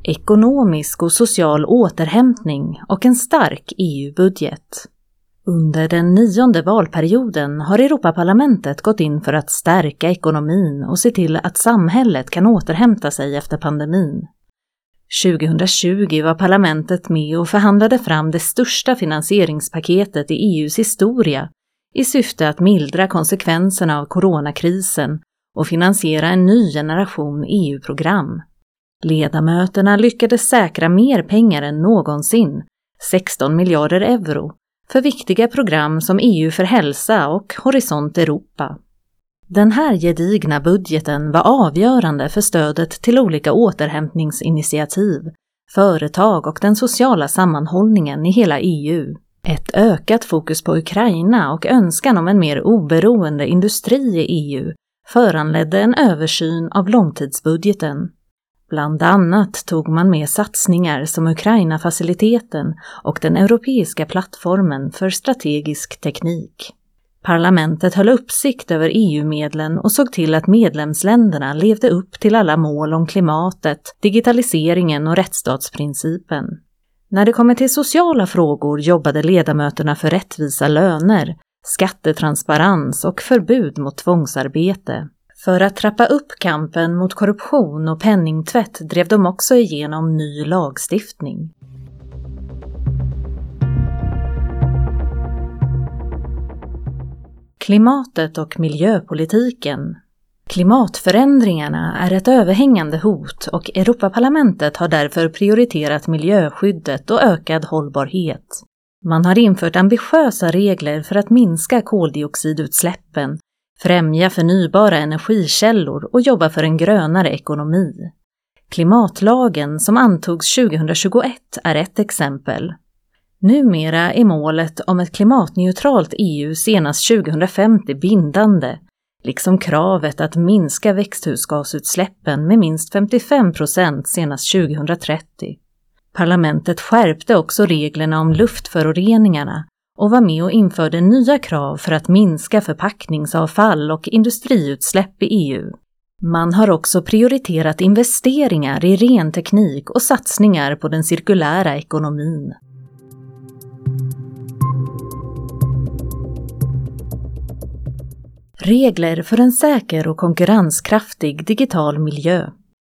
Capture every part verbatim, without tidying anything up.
Ekonomisk och social återhämtning och en stark E U-budget. Under den nionde valperioden har Europaparlamentet gått in för att stärka ekonomin och se till att samhället kan återhämta sig efter pandemin. tjugohundratjugo var parlamentet med och förhandlade fram det största finansieringspaketet i E U:s historia i syfte att mildra konsekvenserna av coronakrisen och finansiera en ny generation E U-program. Ledamöterna lyckades säkra mer pengar än någonsin, sexton miljarder euro, för viktiga program som E U för hälsa och Horisont Europa. Den här gedigna budgeten var avgörande för stödet till olika återhämtningsinitiativ, företag och den sociala sammanhållningen i hela E U. Ett ökat fokus på Ukraina och önskan om en mer oberoende industri i E U föranledde en översyn av långtidsbudgeten. Bland annat tog man med satsningar som Ukraina-faciliteten och den europeiska plattformen för strategisk teknik. Parlamentet höll uppsikt över E U-medlen och såg till att medlemsländerna levde upp till alla mål om klimatet, digitaliseringen och rättsstatsprincipen. När det kommer till sociala frågor jobbade ledamöterna för rättvisa löner, skattetransparens och förbud mot tvångsarbete. För att trappa upp kampen mot korruption och penningtvätt drev de också igenom ny lagstiftning. Klimatet och miljöpolitiken. Klimatförändringarna är ett överhängande hot och Europaparlamentet har därför prioriterat miljöskyddet och ökad hållbarhet. Man har infört ambitiösa regler för att minska koldioxidutsläppen, främja förnybara energikällor och jobba för en grönare ekonomi. Klimatlagen som antogs tjugohundratjugoett är ett exempel. Numera är målet om ett klimatneutralt E U senast tjugohundrafemtio bindande, liksom kravet att minska växthusgasutsläppen med minst femtiofem procent senast tjugohundratrettio. Parlamentet skärpte också reglerna om luftföroreningarna och var med och införde nya krav för att minska förpackningsavfall och industriutsläpp i E U. Man har också prioriterat investeringar i ren teknik och satsningar på den cirkulära ekonomin. Regler för en säker och konkurrenskraftig digital miljö.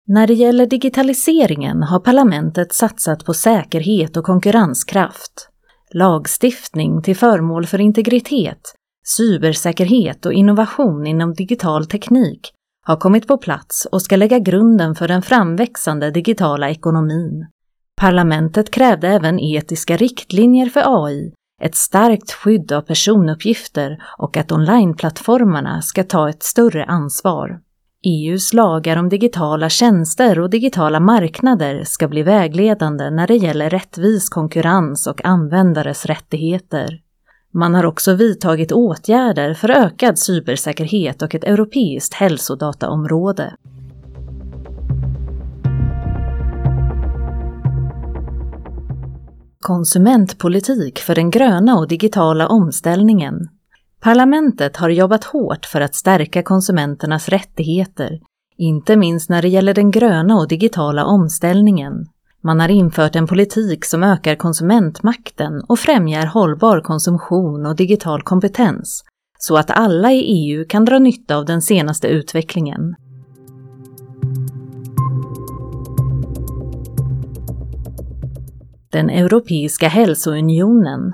När det gäller digitaliseringen har parlamentet satsat på säkerhet och konkurrenskraft. Lagstiftning till förmån för integritet, cybersäkerhet och innovation inom digital teknik har kommit på plats och ska lägga grunden för den framväxande digitala ekonomin. Parlamentet krävde även etiska riktlinjer för A I, ett starkt skydd av personuppgifter och att onlineplattformarna ska ta ett större ansvar. E U:s lagar om digitala tjänster och digitala marknader ska bli vägledande när det gäller rättvis konkurrens och användares rättigheter. Man har också vidtagit åtgärder för ökad cybersäkerhet och ett europeiskt hälsodataområde. Konsumentpolitik för den gröna och digitala omställningen. Parlamentet har jobbat hårt för att stärka konsumenternas rättigheter, inte minst när det gäller den gröna och digitala omställningen. Man har infört en politik som ökar konsumentmakten och främjar hållbar konsumtion och digital kompetens, så att alla i E U kan dra nytta av den senaste utvecklingen. Den Europeiska hälsounionen.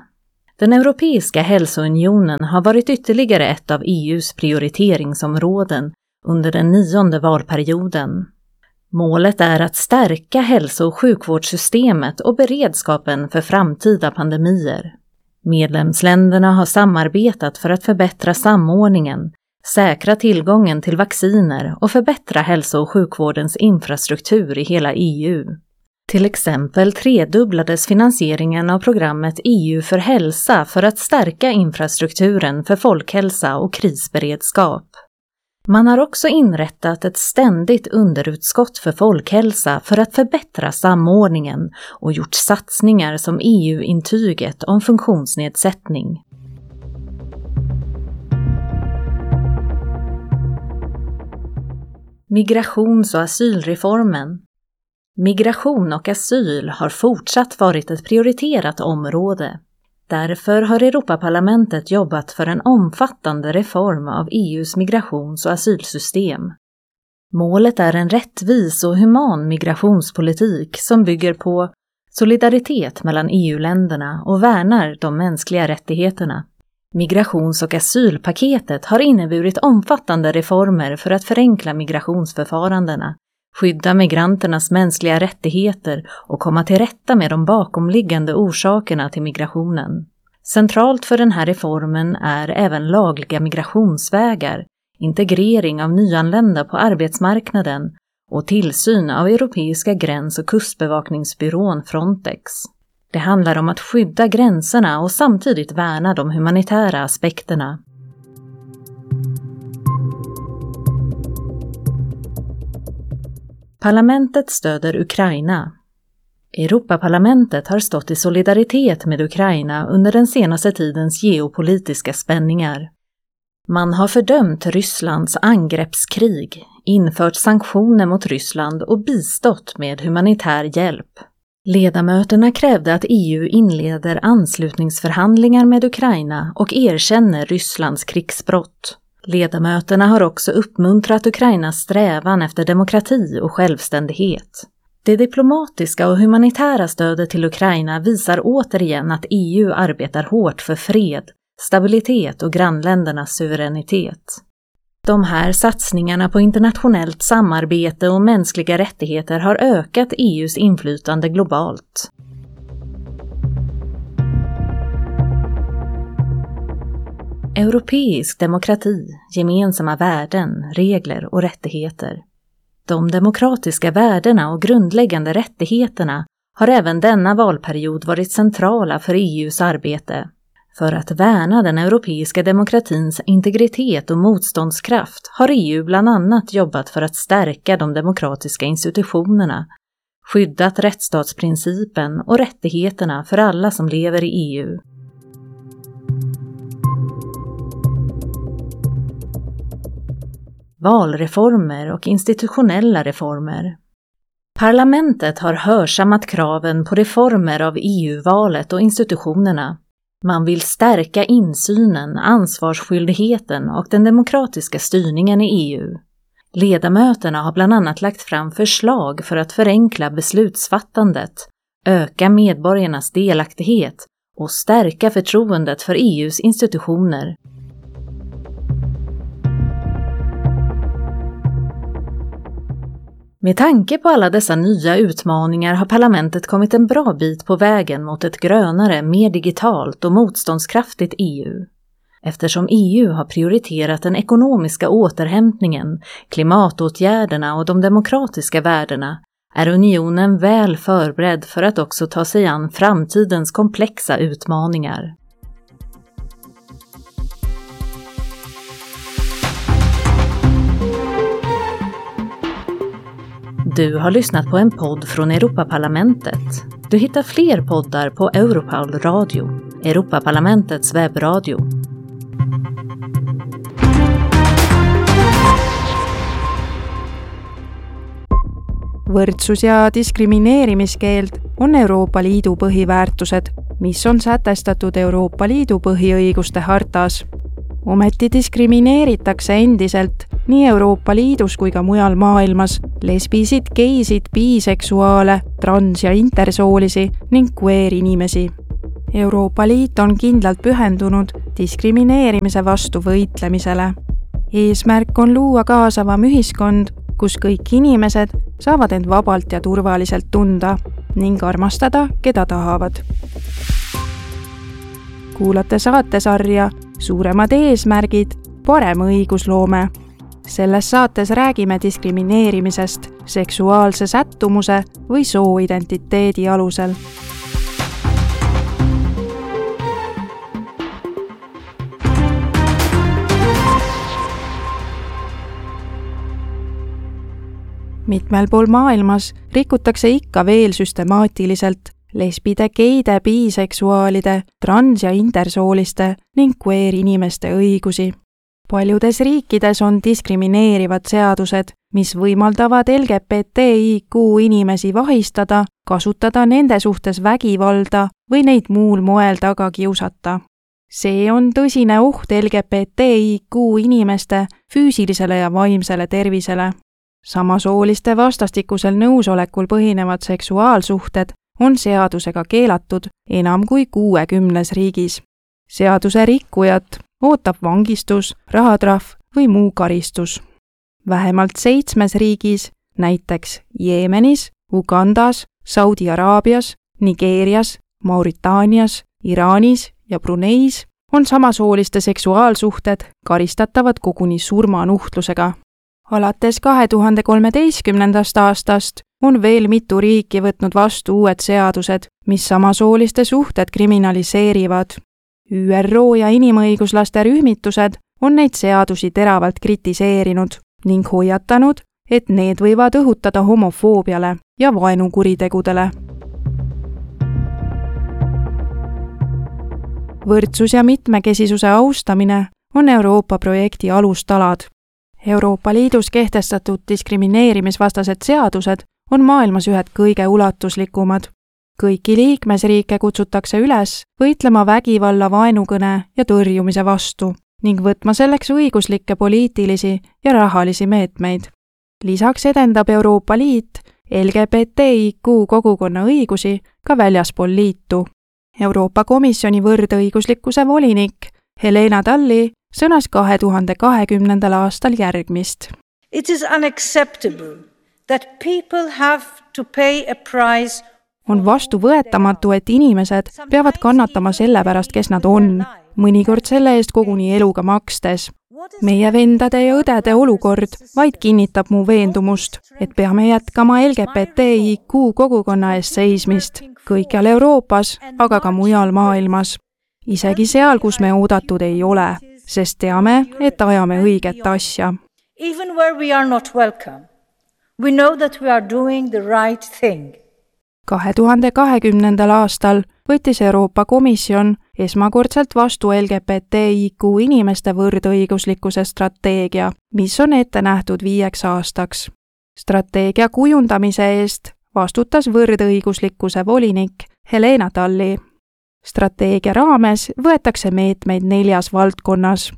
Den Europeiska hälsounionen har varit ytterligare ett av E U:s prioriteringsområden under den nionde valperioden. Målet är att stärka hälso- och sjukvårdssystemet och beredskapen för framtida pandemier. Medlemsländerna har samarbetat för att förbättra samordningen, säkra tillgången till vacciner och förbättra hälso- och sjukvårdens infrastruktur i hela E U. Till exempel tredubblades finansieringen av programmet E U för hälsa för att stärka infrastrukturen för folkhälsa och krisberedskap. Man har också inrättat ett ständigt underutskott för folkhälsa för att förbättra samordningen och gjort satsningar som E U-intyget om funktionsnedsättning. Migrations- och asylreformen. Migration och asyl har fortsatt varit ett prioriterat område. Därför har Europaparlamentet jobbat för en omfattande reform av E U:s migrations- och asylsystem. Målet är en rättvis och human migrationspolitik som bygger på solidaritet mellan E U-länderna och värnar de mänskliga rättigheterna. Migrations- och asylpaketet har inneburit omfattande reformer för att förenkla migrationsförfarandena, skydda migranternas mänskliga rättigheter och komma till rätta med de bakomliggande orsakerna till migrationen. Centralt för den här reformen är även lagliga migrationsvägar, integrering av nyanlända på arbetsmarknaden och tillsyn av Europeiska gräns- och kustbevakningsbyrån Frontex. Det handlar om att skydda gränserna och samtidigt värna de humanitära aspekterna. Parlamentet stöder Ukraina. Europaparlamentet har stått i solidaritet med Ukraina under den senaste tidens geopolitiska spänningar. Man har fördömt Rysslands angreppskrig, infört sanktioner mot Ryssland och bistått med humanitär hjälp. Ledamöterna krävde att E U inleder anslutningsförhandlingar med Ukraina och erkänner Rysslands krigsbrott. Ledamöterna har också uppmuntrat Ukrainas strävan efter demokrati och självständighet. Det diplomatiska och humanitära stödet till Ukraina visar återigen att E U arbetar hårt för fred, stabilitet och grannländernas suveränitet. De här satsningarna på internationellt samarbete och mänskliga rättigheter har ökat E U:s inflytande globalt. Europeisk demokrati, gemensamma värden, regler och rättigheter. De demokratiska värdena och grundläggande rättigheterna har även denna valperiod varit centrala för E U:s arbete. För att värna den europeiska demokratins integritet och motståndskraft har E U bland annat jobbat för att stärka de demokratiska institutionerna, skyddat rättsstatsprincipen och rättigheterna för alla som lever i E U. Valreformer och institutionella reformer. Parlamentet har hörsammat kraven på reformer av E U-valet och institutionerna. Man vill stärka insynen, ansvarsskyldigheten och den demokratiska styrningen i E U. Ledamöterna har bland annat lagt fram förslag för att förenkla beslutsfattandet, öka medborgarnas delaktighet och stärka förtroendet för E U:s institutioner. Med tanke på alla dessa nya utmaningar har parlamentet kommit en bra bit på vägen mot ett grönare, mer digitalt och motståndskraftigt E U. Eftersom E U har prioriterat den ekonomiska återhämtningen, klimatåtgärderna och de demokratiska värdena är unionen väl förberedd för att också ta sig an framtidens komplexa utmaningar. Du har lyssnat på en podd från Europaparlamentet. Du hittar fler poddar på Europarl Radio, Europaparlamentets webbradio. Võrdsus ja diskrimineerimiskeeld on Euroopa Liidu põhiväärtused, mis on sätestatud Euroopa Liidu põhiõiguste hartas. Ometi diskrimineeritakse endiselt nii Euroopa Liidus kui ka mujal maailmas lesbisid, geisid, biseksuaale, trans- ja intersoolisi ning queer-inimesi. Euroopa Liit on kindlalt pühendunud diskrimineerimise vastu võitlemisele. Eesmärk on luua kaasavam ühiskond, kus kõik inimesed saavad end vabalt ja turvaliselt tunda ning armastada, keda tahavad. Kuulate saatesarja Suuremad eesmärgid, parem õigusloome. Selles saates räägime diskrimineerimisest seksuaalse sättumuse või sooidentiteedi alusel. Mitmel pool maailmas rikutakse ikka veel süstemaatiliselt lesbide, geide, biseksuaalide, trans- ja intersooliste ning queer-inimeste õigusi. Paljudes riikides on diskrimineerivad seadused, mis võimaldavad L G B T I Q inimesi vahistada, kasutada nende suhtes vägivalda või neid muul moel taga kiusata. See on tõsine oht L G B T I Q inimeste füüsilisele ja vaimsele tervisele. Samasooliste vastastikusel nõusolekul põhinevad seksuaalsuhted on seadusega keelatud enam kui kuuekümnes riigis. Seaduse rikkujat ootab vangistus, rahatrahv või muu karistus. Vähemalt seitsmes riigis, näiteks Jeemenis, Ugandas, Saudi Araabias, Nigeerias, Mauritaanias, Iraanis ja Bruneis on samasooliste seksuaalsuhted karistatavad koguni surmanuhtlusega. Alates kahe tuhande kolmeteistkümnendast aastast on veel mitu riiki võtnud vastu uued seadused, mis samasooliste suhted kriminaliseerivad. Ü R O ja inimõiguslaste rühmitused on neid seadusi teravalt kritiseerinud ning hoiatanud, et need võivad õhutada homofoobiale ja vaenukuritegudele. Võrdsus ja mitmekesisuse austamine on Euroopa projekti alustalad. Euroopa Liidus kehtestatud diskrimineerimisvastased seadused on maailmas ühed kõige ulatuslikumad. Kõiki liikmesriike kutsutakse üles võitlema vägivalla, vaenukõne ja tõrjumise vastu ning võtma selleks õiguslikke, poliitilisi ja rahalisi meetmeid. Lisaks edendab Euroopa Liit L G B T I Q kogukonna õigusi ka väljaspool liitu. Euroopa Komisjoni võrdõiguslikkuse volinik Helena Dalli sõnas kahe tuhande kahekümnendal aastal järgmist. It is unacceptable that people have to pay a price. On vastuvõetamatu, et inimesed peavad kannatama selle pärast, kes nad on, mõnikord selle eest koguni eluga makstes. Meie vendade ja õdede olukord vaid kinnitab mu veendumust, et peame jätkama L G B T I Q kogukonna eest seismist kõikjal Euroopas, aga ka mujal maailmas. Isegi seal, kus me oodatud ei ole, sest teame, et ajame õiget asja. Even where we are not welcome, we know that we are doing the right thing. kahe tuhande kahekümnendal aastal võttis Euroopa Komisjon esmakordselt vastu L G B T I Q inimeste võrdõiguslikkuse strateegia, mis on ette nähtud viieks aastaks. Strateegia kujundamise eest vastutas võrdõiguslikkuse volinik Helena Dalli. Strateegia raames võetakse meetmeid neljas valdkonnas.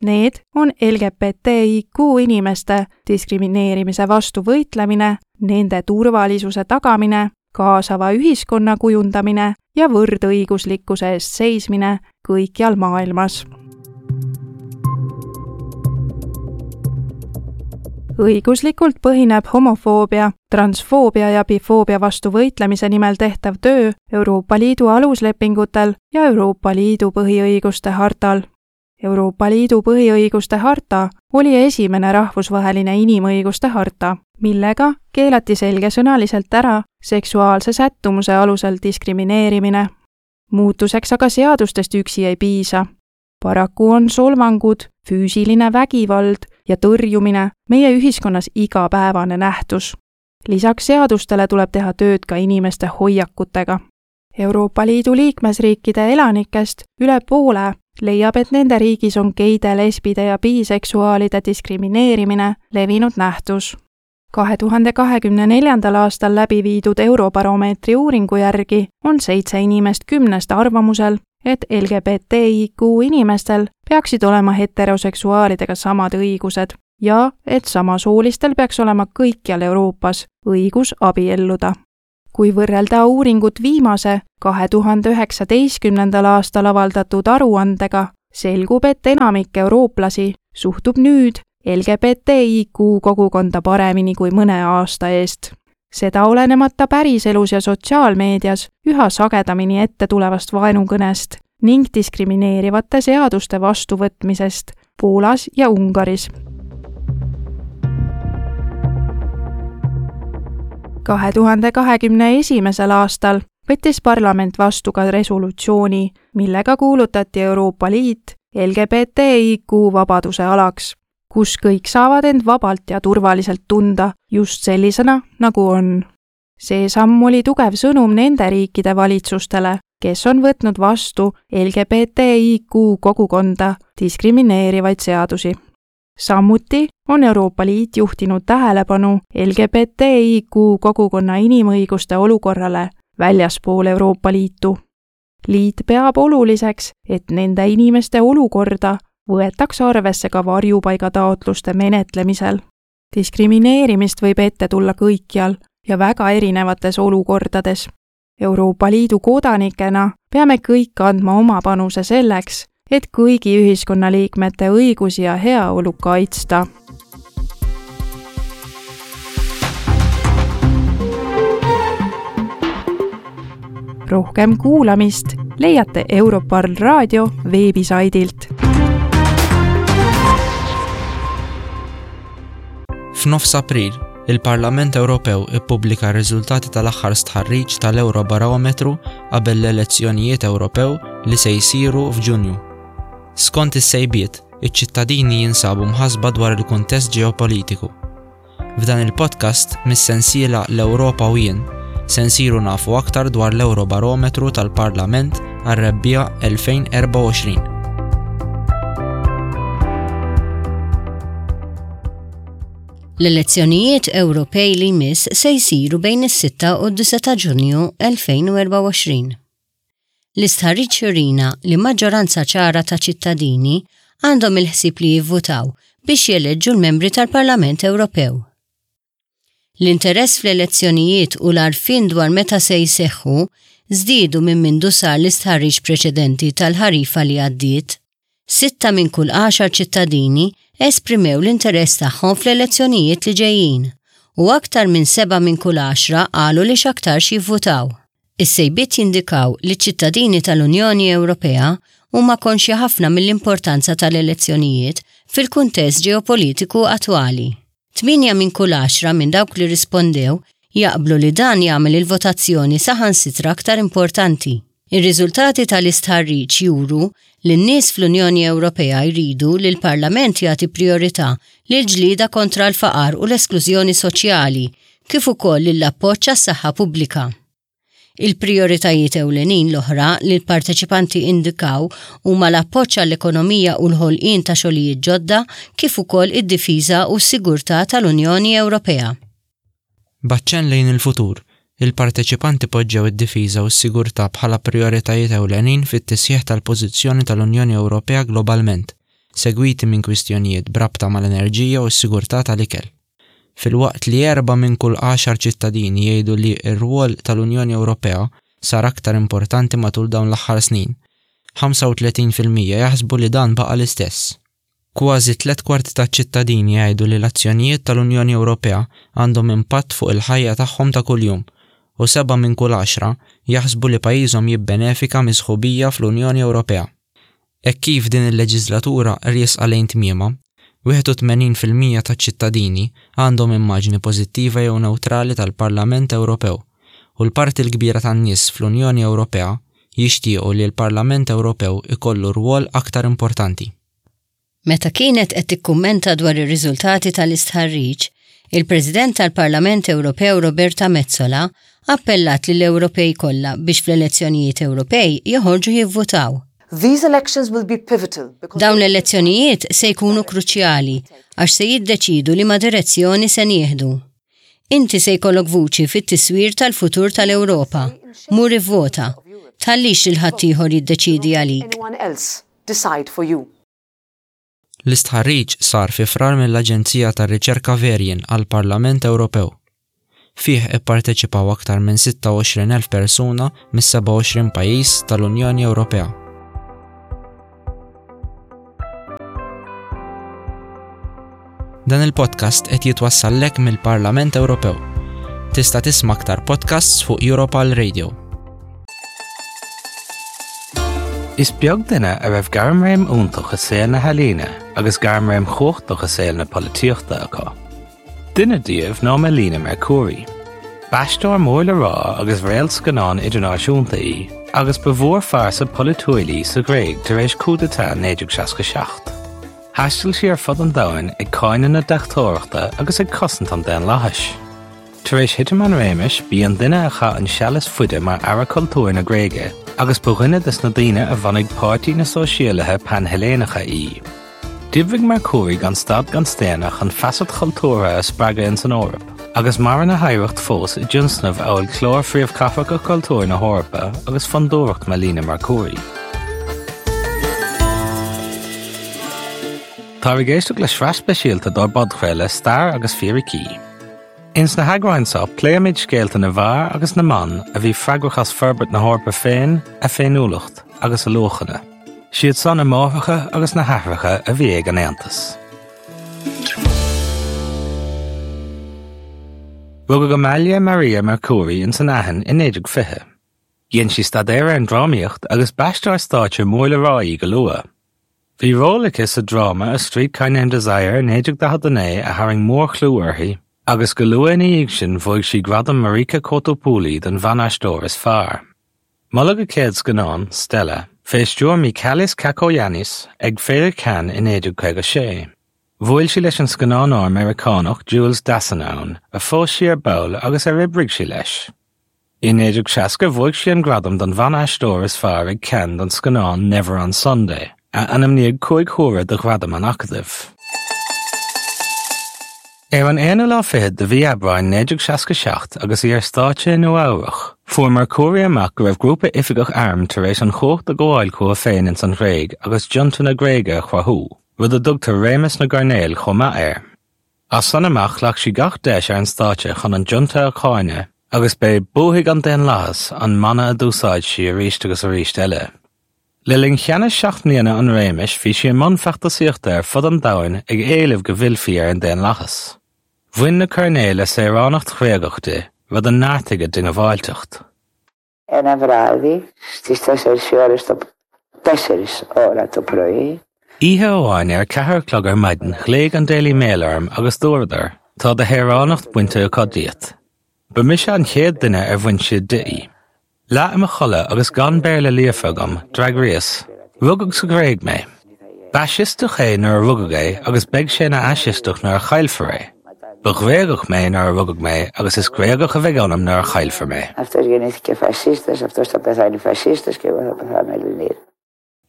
Need on L G B T I Q inimeste diskrimineerimise vastu võitlemine, nende turvalisuse tagamine, kaasava ühiskonna kujundamine ja võrdõiguslikkuse eest seismine kõikjal maailmas. Õiguslikult põhineb homofoobia, transfoobia ja bifoobia vastu võitlemise nimel tehtav töö Euroopa Liidu aluslepingutel ja Euroopa Liidu põhiõiguste hartal. Euroopa Liidu põhiõiguste harta oli esimene rahvusvaheline inimõiguste harta, millega keelati selgesõnaliselt ära seksuaalse sättumuse alusel diskrimineerimine. Muutuseks aga seadustest üksi ei piisa. Paraku on solvangud, füüsiline vägivald ja tõrjumine meie ühiskonnas igapäevane nähtus. Lisaks seadustele tuleb teha tööd ka inimeste hoiakutega. Euroopa Liidu liikmesriikide elanikest üle poole leiab, et nende riigis on geide, lesbide ja biseksuaalide diskrimineerimine levinud nähtus. kahe tuhande kahekümne neljandal aastal läbi viidud Eurobaromeetri uuringu järgi on seitse inimest kümnest arvamusel, et L G B T I Q inimestel peaksid olema heteroseksuaalidega samad õigused ja et samasoolistel peaks olema kõikjal Euroopas õigus abielluda. Kui võrrelda uuringut viimase, kahe tuhande üheksateistkümnendal aastal avaldatud aruandega, selgub, et enamik eurooplasi suhtub nüüd L G B T I Q kogukonda paremini kui mõne aasta eest. Seda olenemata päriselus ja sotsiaalmeedias üha sagedamini ette tulevast vaenukõnest ning diskrimineerivate seaduste vastuvõtmisest Poolas ja Ungaris. kahe tuhande kahekümne esimesel aastal võttis parlament vastu ka resolutsiooni, millega kuulutati Euroopa Liit L G B T I Q vabaduse alaks, kus kõik saavad end vabalt ja turvaliselt tunda just sellisena, nagu on. See samm oli tugev sõnum nende riikide valitsustele, kes on võtnud vastu L G B T I Q kogukonda diskrimineerivaid seadusi. Samuti on Euroopa Liit juhtinud tähelepanu L G B T I Q kogukonna inimõiguste olukorrale väljaspool Euroopa Liitu. Liit peab oluliseks, et nende inimeste olukorda võetakse arvesse ka varjupaigataotluste menetlemisel. Diskrimineerimist võib ette tulla kõikjal ja väga erinevates olukordades. Euroopa Liidu kodanikena peame kõik andma oma panuse selleks, et kõigi ühiskonnaliikmete õigusi ja heaolu kaitsta. Rohkem kuulamist leiate Europarl raadio veebisaidilt. F'nofs April, il-Parlament Ewropew ippubblika r-riżultati tal-aħħar stħarriġ tal-Eurobarometru qabel l-elezzjonijiet Ewropew li se jsiru f'Ġunju. Skont is-sejbiet, iċ-ċittadini jinsabu mħasba dwar il-kuntest ġeopolitiku. F'dan il-podcast mis-sensiela L-Ewropa u jien se nsiru nafu aktar dwar l-Eurobarometru tal-Parlament għar-rebbiegħa elfejn u erbgħa u għoxrin. L-elezzjonijiet Ewropej li jmiss se jsiru bejn is-sitta u d-disgħa ta' Ġunju elfejn u erbgħa u għoxrin. L-istħarriġ jurina li maġġoranza ċara ta' ċittadini għandhom il-ħsieb li jivvutaw biex jeleġġu l-membri tal-Parlament Ewropew. L-interess fl-elezzjonijiet u l-għarfien dwar meta se jseħħu żdiedu minn mindu sar l-istħarriġ preċedenti tal-ħarifa li għaddiet. Sitta minn kull għaxar ċittadini esprimew l-interess tagħhom fl-elezzjonijiet li ġejjin u aktar minn seba' minn kull għaxra qalu li x'aktarx jivvutaw. Is-sejbiet jindikaw li ċittadini tal-Unjoni Ewropea huma konxji ħafna mill-importanza tal-elezzjonijiet fil-kuntest ġeopolitiku attwali. Tmienja minn kull għaxra minn dawk li rispondew jaqblu li dan jagħmel il-votazzjoni saħansitra aktar importanti. Ir-riżultati tal-istħarriġ juru li n-nies fl-Unjoni Ewropea jridu li l-Parlament jagħti priorità lil ġlida kontra l-faqar u l-esklużjoni soċjali, kif ukoll lill-appoġġ għas-saħħa pubblika. Il-prioritajiet ewlenin l-oħra li l-parteċipanti indikaw huma l-appoġġ għall-ekonomija u l-ħolqien ta' xogħlijiet ġodda, kif ukoll id-difiża u s-sigurtà tal-Unjoni Ewropea. B'aċċenn lejn il-futur, il-parteċipanti poġġew id-difiża u s-sigurtà bħala prioritajiet ewlenin fit-tisħiħ tal-pożizzjoni tal-Unjoni Ewropea globalment, segwiti minn kwistjonijiet b'rabta mal-enerġija u s-sigurtà tal-ikel. Filwaqt li erba' minn kull għaxar ċittadini jgħidu li r-rwol tal-Unjoni Ewropea sar aktar importanti matul dawn l-aħħar snin, ħamsa u tletin fil-mija jaħsbu li dan baqa' l-istess. Kważi tliet kwarti taċ-ċittadini jgħidu li l-azzjonijiet tal-Unjoni Ewropea għandhom impatt fuq il-ħajja tagħhom ta' kuljum u seba' minn kull għaxra jaħsbu li pajjiżhom jibbenefika mis-sħubija fl-Unjoni Ewropea. Hekk kif din il-leġislatura riesqa lejn tmiema, wieħed u tmenin fil-mija taċ-ċittadini għandhom immaġni pożittiva jew neutrali tal-Parlament Ewropew u l-parti l-kbira tan-nies fl-Unjoni Ewropea jixtiequ li l-Parlament Ewropew ikollu rwol aktar importanti. Meta kienet qed tikkummenta dwar ir-riżultati tal-istħarriġ, il-President tal-Parlament Ewropew Roberta Metsola appellat lill-Ewropej kollha biex fl-elezzjonijiet Ewropej joħorġu jivvutaw. These elections will be pivotal because Dawn l-elezzjonijiet se jkunu kruċjali għax se jiddeċidu liema direzzjoni se nieħdu. Inti se jkollok vuċi fit-tiswir tal-futur tal-Ewropa. Mur ivvota. Tħallix lil ħaddieħor jiddeċidi għalik. Anyone else decide for you. L-istħarriġ sar fi Frar mill-Aġenzija tar-Riċerka Verian għall-Parlament Ewropew. Fih ipparteċipaw aktar minn sitta u għoxrin elf persuna mis-sebgħa u għoxrin pajjiż tal-Unjoni Ewropea. Dan il-podcast qed jitwassallek mill-Parlament Ewropew. Tista' tisma' aktar podcasts fuq Europarl Radio. Is beag duine a raibh gairmréim iontach i saol na healaíne agus gairmréim chumhachtach i saol na polaitíochta acu. Duine díobh ná Melina Mercouri. B'aisteoir mór le rá agus réalt scannán idirnáisiúnta í, agus ba mhórphearsa polaitiúil í sa Ghréig tar éis coup d'état naoi déag seasca seacht. Thaistil sí ar fud an domhain ag cáineadh na deachtóireachta agus ag cosaint an daonlathais. Tar éis thitim an réimis b'í an duine a chaith an seal is faide mar aire cultúir na Gréige, agus ba dhuine des na daoine a bhunaigh Páirtí na Sóisialaithe Panheiléineacha í. D'oibrigh Mercouri gan stad gan staonadh chun feasacht chultúrtha a spreagadh in san Eoraip, agus maireann a hoidhreacht fós i dtionscnaimh amhail Clár Phríomhchathracha Cultúir na hEorpa agus Fondúireacht Melina Mercouri. Táthar ag éisteacht le sraith speisialta dár bpodchraoladh Stair agus Fíricí. Ins na heagráin seo pléimid scéalta na bhfear agus na mban a bhí freagrach as forbairt na hEorpa féin, a féiniúlacht agus a luachanna. Siad san na máithreacha agus na haithreacha a bhí ag an Aontas. Rugadh Amalia Maria Mercouri in san Aithin i naoi déag fiche. Dhein sí staidéar ar an drámaíocht agus b'aisteoir stáitse mór le rá í go luath. Bhí ról aici sa dráma A Streetcar Named Desire i naoi déag daichead a naoi a tharraing mórchlú uirthi, agus go luath ina dhiaidh sin bhuaigh sí gradam Marika Kotopouli don bhanaisteoir is fearr. Moladh a céad scannán, Stella, fé stiúir Michalis Cacoyannis ag Féile Cannes i naoi déag caoga sé. Bhuail sí leis an scannánóir Meiriceánach Jules Dassin ann, a phós sí ar ball agus ar oibrigh sí leis. I naoi déag seasca bhuaigh sí an gradam don bhanaisteoir is fearr ag Cannes don scannán Never on Sunday, a ainmníodh cúig huaire do ghradam an Acadaimh. Ar an aonú lá fichead de mhí Aibreáin naoi déag seasca seacht agus í ar stáitse i Nua-Eabhrac, fuair Mercouri amach go raibh grúpa oifigeach airm tar éis an chumhacht a ghabháil chucu féin ins an Ghréig agus junta na Gréige a chruthú, rud a dtugtar réimeas na gcoirnéal chomh maith air. As san amach ghlac sí gach deis ar an stáitse chun an junta a cháineadh agus b'é 'Buafaidh an daonlathas' an mana a d'úsáid sí arís agus arís eile. Le linn cheannas seacht mbliana an réimis bhí sí i mbun feachtasaíochta ar fud an domhain ag éileamh go bhfillfí ar an daonlathas. Bhain na coirnéil a saoránacht Ghréagach di, rud a neartaigh a diongbháilteacht. Ένα βράδυ στις τέσσερις οι ώρες το, τέσσερις ώρα το πρωί. Oíche amháin ar a ceathair a chlog ar maidin ghlaoigh an Daily Mail orm agus dúradar, Tá do shaoránacht bainte acu díot. Ba mise an chéad duine ar bhain siad di í. Leath i mo chodladh agus gan Béarla líofa agam, d'fhreagraíos, Rugadh sa Ghréig mé. B'fhaisisteach é nuair a rugadh é agus beidh sé ina fhaisisteach nuair a chaillfear é. Ba Ghréagach mé nuair a rugadh mé agus is Gréagach a bheidh ionam nuair a chaillfear mé. Αυτός γεννήθηκε φασίστας, αυτός θα πεθάνει φασίστας και εγώ θα πεθάνω Ελληνίδα.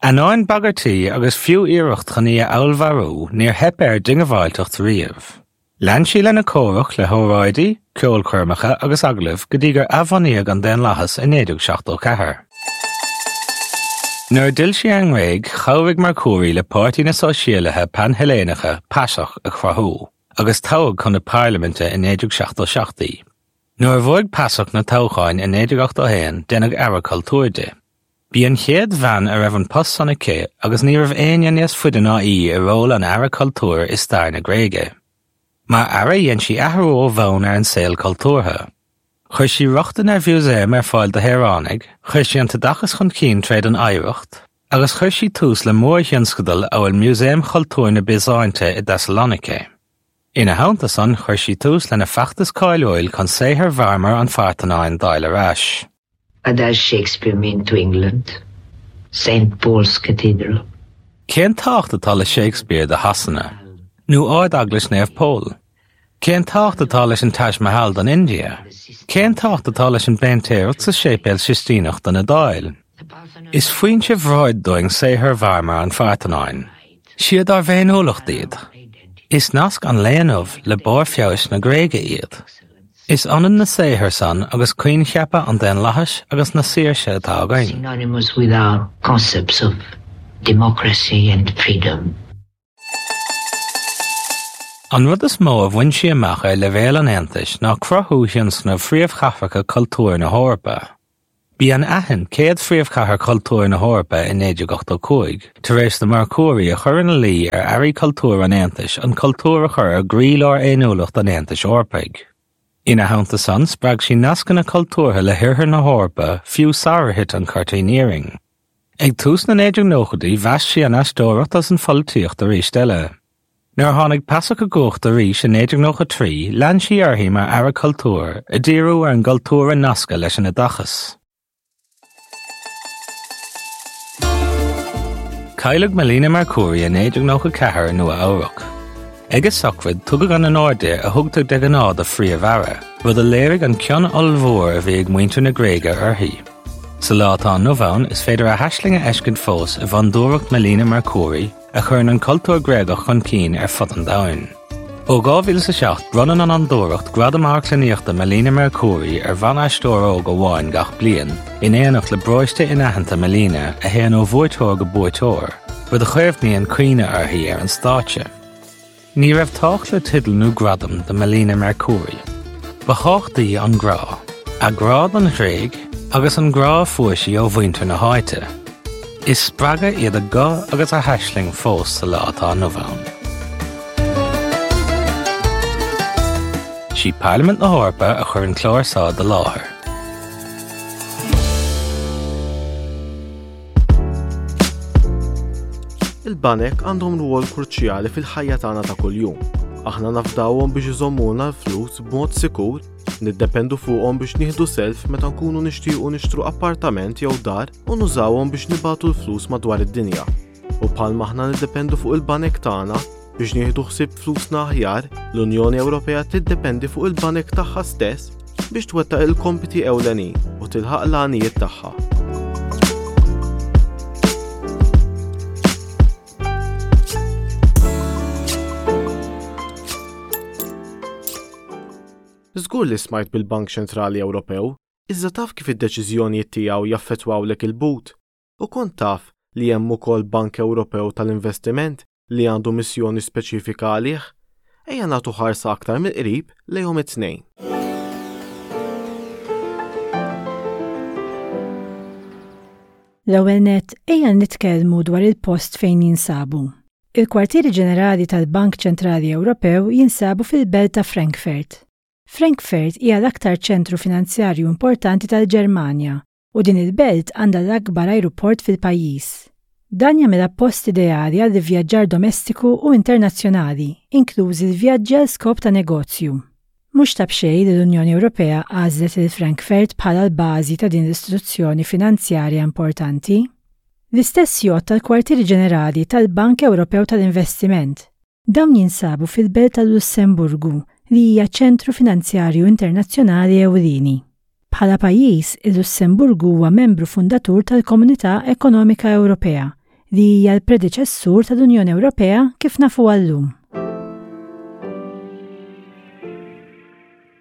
Ainneoin bagairtí agus fiú iarracht chun í a fheallmharú, níor theip ar a diongbháilteacht riamh. Lean sí lena comhrac le hóráidí, ceolchoirmeacha agus agallaimh go dtí gur athbhunaíodh an daonlathas i naoi déag seachtó ceathair. Nuair a d'fhill sí ar an nGréig, chabhraigh Mercouri le Páirtí na Sóisialaithe Pan-Heilléanacha, PASOK, a chruthú, agus toghadh chun na Parlaiminte i naoi déag seachtó seacht í. Nuair a bhuaigh PASOK na toghcháin i naoi déag ochtó a haon, déanadh Aire Cultúir di. B'í an chéad bhean a raibh an post san aici agus ní raibh éinne níos faide ná í i ról an Aire Cultúir i stair na Gréige. Mar aire dhein sí athrú ó bhonn ar an saol cultúrtha. Chuir sí rochtain ar mhúsaeim ar fáil do shaoránaigh, chuir sí an t-oideachas chun cinn tríd an oidhreacht, agus chuir sí tús le mórthionscadail amhail Músaem Chultúr na Biosáinte i dTeasaloinice. Ina theannta san, chuir sí tús lena feachtas cáiliúil chun saothar mharmar an Phartanáin d'fháil ar ais. What does Shakespeare mean to England? Saint Paul's Cathedral. Cén tábhacht atá le Shakespeare do Shasana? Nó Ard-Eaglais Naomh Pól? Cén tábhacht atá leis an Taj Mahal don India? Cén tábhacht atá leis an bpéintéireacht sa Séipéal Sistíneach don Iodáil? Is foinse bhróid dúinn saothair mharmar an Phartanáin. Siad ár bhféiniúlacht iad. Is nasc an lae inniu le barr feabhais na Gréige iad. Is ionann na saothair san agus coincheapa an daonlathais agus na saoirse atá againn. Synonymous with our concepts of democracy and freedom. An rud is mó a bhain sí amach ar leibhéal an Aontais ná cruthú thionscnamh Phríomhchathracha Cultúir na hEorpa. B'í an Aithin céad phríomhchathair cultúir na hEorpa i naoi déag ochtó cúig, tar éis do Mercouri a chur ina luí ar airí cultúir an Aontais an cultúr a chur i gcroílár fhéiniúlacht an Aontais Eorpaigh. Ina theannta san, spreag sí nascanna cultúrtha le hOirthear na hEorpa, fiú sarar thit an Cuirtín Iarainn. Ag tús na naoi déag nóchaidí, mheasc sí an aisteoireacht agus an pholaitíocht arís eile. Nuair a tháinig PASOK i gcumhacht arís i naoi déag nócha trí, lean sí uirthi mar Aire Cultúir, ag díriú ar an gcultúr a nascadh leis an oideachas. Cailleadh Melina Mercouri i naoi déag nócha ceathair i Nua-Eabhrac. Ag a sochraid, tugadh an onóir di a thugtar de ghnáth do phríomh-aire, rud a léirigh an cion ollmhór a bhí ag muintir na Gréige uirthi. Sa lá atá inniu ann, is féidir a haisling a fheiscint fós i bhFondúireacht Melina Mercouri, a chuireann an cultúr Gréagach chun cinn ar fud an domhain. Ó dhá mhíle is a seacht bronnann an Fhondúireacht Gradam Amharclannaíochta Melina Mercouri ar bhan-aisteoir óg amháin gach bliain, in éineacht le bróiste inaitheanta Melina a théann ó bhuaiteoir go buaiteoir, rud a chaomhnaíonn cuimhne uirthi ar an stáitse. Ní raibh tábhacht le teideal nó gradam do Melina Mercouri. Ba thábhachtaí an grá, a grá don Ghréig agus an grá a fuair sí ó mhuintir na háite. Is spreagadh iad a guth agus a haisling fós sa lá atá inniu ann. Sí Parlaimint na hEorpa a chuir an clár seo i láthair. Il-banek għandhom rwol kruċjali fil-ħajja tagħna ta' kuljum. Aħna nafdawhom biex iżommulna l-flus b'mod sikur, niddependu fuqhom biex nieħdu self meta nkunu nixtiequ nixtru appartament jew dar u nużawhom biex nibagħtu l-flus madwar id-dinja. U bħalma aħna niddependu fuq il-banek tagħna biex nieħdu ħsieb flusna aħjar, l-Unjoni Ewropea tiddependi fuq il-banek tagħha stess biex twettaq il-kompiti ewlenin u tilħaq l-għanijiet tagħha. Żgur li smajt bil-Bank Ċentrali Ewropew, iżda taf kif id-deċiżjonijiet tiegħu jaffettwawlek il-but? U kont taf li hemm ukoll Bank Ewropew tal-Investiment li għandu missjoni speċifika għalih? Ejja nagħtu ħarsa aktar mill-qrib lejhom it-tnejn. L-ewwel nett ejja nitkellmu dwar il-post fejn jinsabu. Il-kwartieri ġenerali tal-Bank Ċentrali Ewropew jinsabu fil-belt ta' Frankfurt. Frankfurt hija l-aktar ċentru finanzjarju importanti tal-Ġermanja u din il-belt għandha l-akbar ajruport fil-pajjiż. Dan jagħmilha post ideali għal vjaġġar domestiku u internazzjonali, inklużi l-vjaġġi għal skop ta' negozju. Mhux ta' b'xejn li l-Unjoni Ewropea għażlet lil Frankfurt bħala l-bażi ta' din l-istituzzjoni finanzjarja importanti. L-istess jgħodd tal-kwartieri ġenerali tal-Bank Ewropew tal-Investiment. Dawn jinsabu fil-belt tal-Lussemburgu li hija ċentru finanzjarju internazzjonali ewlieni. Bħala pajjiż, il-Lussemburgu huwa membru fundatur tal-Komunità Ekonomika Ewropea, li hija l-predeċessur tal-Unjoni Ewropea kif nafuha llum.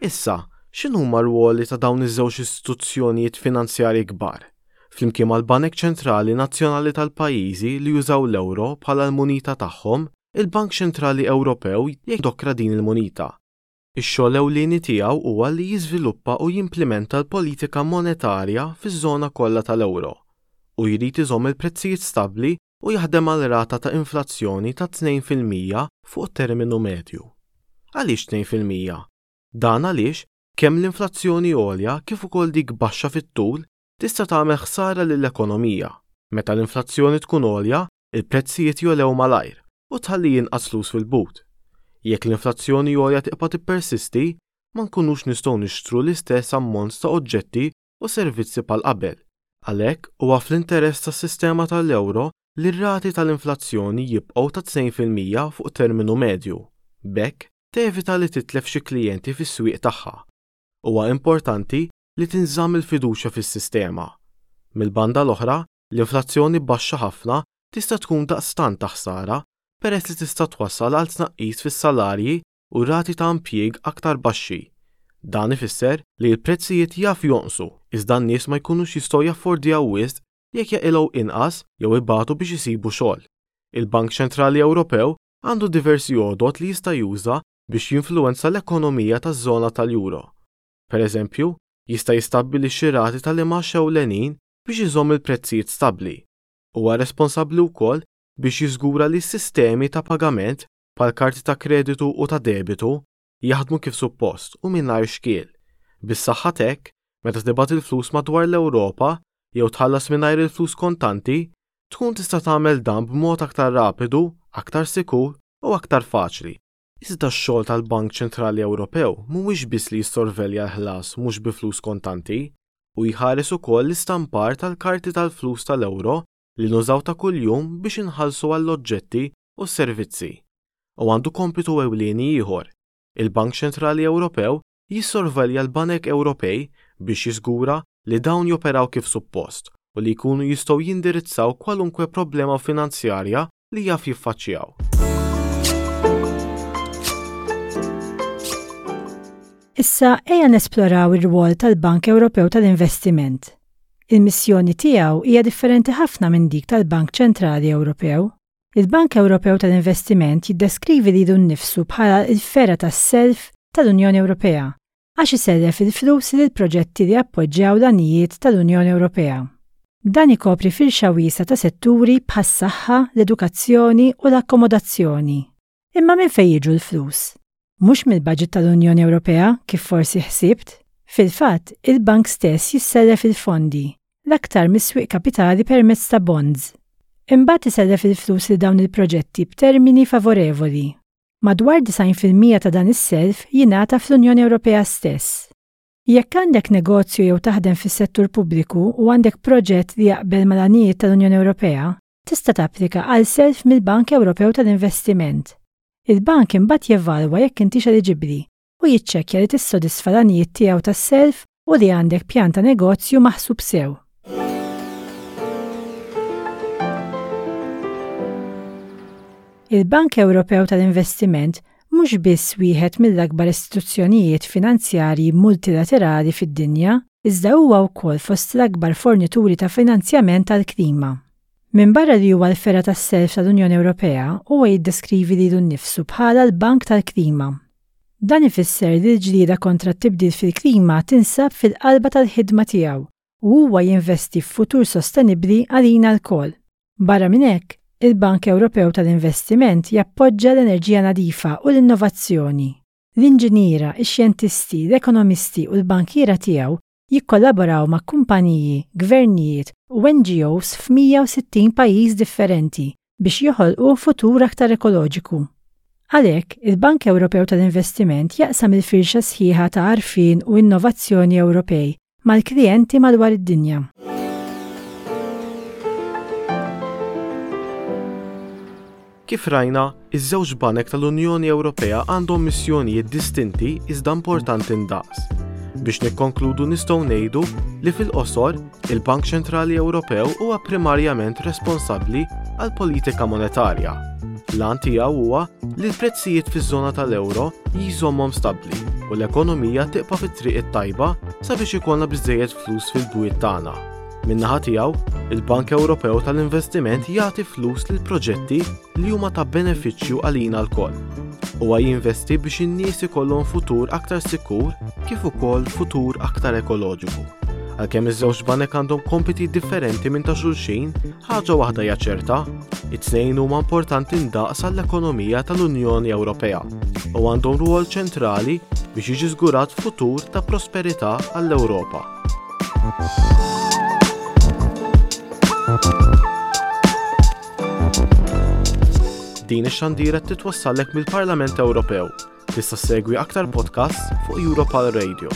Issa, x'inhuma r-rwoli ta' dawn iż-żewġ istituzzjonijiet finanzjarji kbar? Flimkien mal-Banek Ċentrali Nazzjonali tal-pajjiżi li jużaw l-euro bħala l-munita tagħhom, il-Bank Ċentrali Ewropew jindokra din il-munita. Ix-xogħol ewlieni tiegħu huwa li jiżviluppa u jimplementa l-politika monetarja fiż-żona kollha tal-euro u jrid iżomm il-prezzijiet stabbli u jaħdem għal rata ta' inflazzjoni ta' tnejn fil-mija fuq terminu medju. Għaliex tnejn fil-mija? Dan għaliex kemm l-inflazzjoni għolja kif ukoll dik baxxa fit-tul tista' tagħmel ħsara lill-ekonomija. Meta l-inflazzjoni tkun għolja, il-prezzijiet jogħlew malajr u tħalli jinqas flus fil-but. Jekk l-inflazzjoni għolja tibqa' tippersisti, ma nkunux nistgħu nixtru l-istess ammont ta' oġġetti u servizzi bħal qabel. Għalhekk huwa fl-interess tas-sistema tal-euro li r-rati tal-inflazzjoni jibqgħu ta' tnejn fil-mija fuq terminu medju. B'hekk tevita li titlef xi klijenti fis-swieq tagħha. Huwa importanti li tinżamm il-fiduċja fis-sistema. Mill-banda l-oħra, l-inflazzjoni baxxa ħafna tista' tkun daqstant ta' ħsara peress li tista' twassal għal tnaqqis fis-salarji u rati ta' impjieg aktar baxxi. Dan ifisser li l-prezzijiet jaf jonqsu, iżda n-nies ma jkunux jistgħu jaffordjaw wisq jekk jaqilgħu inqas jew ibatu biex isibu xogħol. Il-Bank Ċentrali Ewropew għandu diversi għodot li jista' juża biex jinfluwenza l-ekonomija taż-żona tal-euro. Per eżempju, jista' jistabbilixxi rati tal-imgħax ewlenin biex iżomm il-prezzijiet stabbli. Huwa responsabbli wkoll biex jiżgura li s-sistemi ta' pagament bħal karti ta' kreditu u ta' debitu jaħdmu kif suppost u mingħajr xkiel. Bis-saħħa t'hekk, meta tibgħat il-flus madwar l-Ewropa jew tħallas mingħajr il-flus kontanti, tkun tista' tagħmel dan b'mod aktar rapidu, aktar sikur u aktar faċli. Iżda x-xogħol tal-Bank Ċentrali Ewropew mhuwiex biss li jissorvelja l-ħlas mhux bi flus kontanti, u jħares ukoll l-istampar tal-karti tal-flus tal-euro li nużaw ta' kuljum biex inħallsu għall-oġġetti u s-servizzi. U għandu kompitu ewlieni ieħor. Il-Bank Ċentrali Ewropew jissorvelja l-Banek Ewropej biex jiżgura li dawn joperaw kif suppost u li jkunu jistgħu jindirizzaw kwalunkwe problema finanzjarja li jaf jiffaċċjaw. Issa ejja nesploraw ir-rwol tal-Bank Ewropew tal-Investiment. Il-missjoni tiegħu hija differenti ħafna minn dik tal-Bank Ċentrali Ewropew. Il-Bank Ewropew tal-Investiment jiddeskrivi lilu nnifsu bħala l-fergħa tas-self tal-Unjoni Ewropea għax isellef il-flus lil proġetti li appoġġjaw l-għanijiet tal-Unjoni Ewropea. Dan ikopri firxa wiesgħa ta' setturi bħas-saħħa, l-edukazzjoni u l-akkomodazzjoni. Imma minn fejn jiġu l-flus? Mhux mill-baġit tal-Unjoni Ewropea kif forsi ħsibt. Fil-fatt, il-bank stess jissellef il-fondi, l-aktar mis-swieq kapitali permezz ta' bonds. Imbagħad isellef il-flus lil dawn il-proġetti b'termini favorevoli. Madwar disgħin fil-mija ta' dan is-self jingħata fl-Unjoni Ewropea stess. Jekk għandek negozju jew taħdem fis-settur pubbliku u għandek proġett li jaqbel mal-għanijiet tal-Unjoni Ewropea, tista' tapplika għal self mill-Bank Ewropew tal-Investiment. Il-bank imbagħad jevalwa jekk intix eliġibbli u jiċċekkja li tissodisfa l-għanijiet tiegħu tas-self u li għandek pjan ta' negozju maħsub sew. Il-Bank Ewropew tal-Investiment mhux biss wieħed mill-akbar istituzzjonijiet finanzjarji multilaterali fid-dinja, iżda huwa wkoll fost l-akbar fornituri ta' finanzjament tal-klima. Minbarra li huwa l-fergħa tas-self tal-Unjoni Ewropea, huwa jiddeskrivi lilu nnifsu bħala l-Bank tal-Klima. Dan ifisser li l-ġlieda kontra t-tibdil fil-klima tinsab fil-qalba tal-ħidma tiegħu u huwa jinvesti f'futur sostenibbli għalina lkoll. Barra minn hekk, il-Bank Ewropew tal-Investiment jappoġġa l-enerġija nadifa u l-innovazzjoni. L-inġiniera, ix-xjentisti, l-ekonomisti u l-bankiera tiegħu jikkollaboraw ma' kumpaniji, gvernijiet u N G Os f'mija u sittin pajjiż differenti biex joħolqu futur aktar ekoloġiku. Għalhekk, il-Bank Ewropew tal-Investiment jaqsam il-firxa sħiħa ta' għarfien u innovazzjoni Ewropej mal-klijenti madwar id-dinja. Kif rajna, iż-żewġ banek tal-Unjoni Ewropea għandhom missjonijiet distinti iżda importanti ndaqs. Biex nikkonkludu nistgħu ngħidu li fil-qosor, il-Bank Ċentrali Ewropew huwa primarjament responsabbli għal politika monetarja. L-għan tiegħu huwa li l-prezzijiet fiż-żona tal-euro jżommhom stabbli u l-ekonomija tibqa' fit-triq it-tajba sabiex ikollna biżżejjed flus fil-bwiet tagħna. Min-naħa tiegħu, il-Bank Ewropew tal-Investiment jagħti flus lil proġetti li huma ta' benefiċċju għalina lkoll. Huwa jinvesti biex in-nies ikollhom futur aktar sikur kif ukoll futur aktar ekoloġiku. Għalkemm iż-żewġ banek għandhom kompiti differenti minn ta' xulxin, ħaġa waħda hija ċerta, it-tnejn huma importanti ndaqs għall-ekonomija tal-Unjoni Ewropea u għandhom rwol ċentrali biex jiġi żgurat futur ta' prosperità għall-Ewropa. Din ix-xandira titwassallek mill-Parlament Ewropew. Tista' ssegwi aktar podcasts fuq Europarl Radio.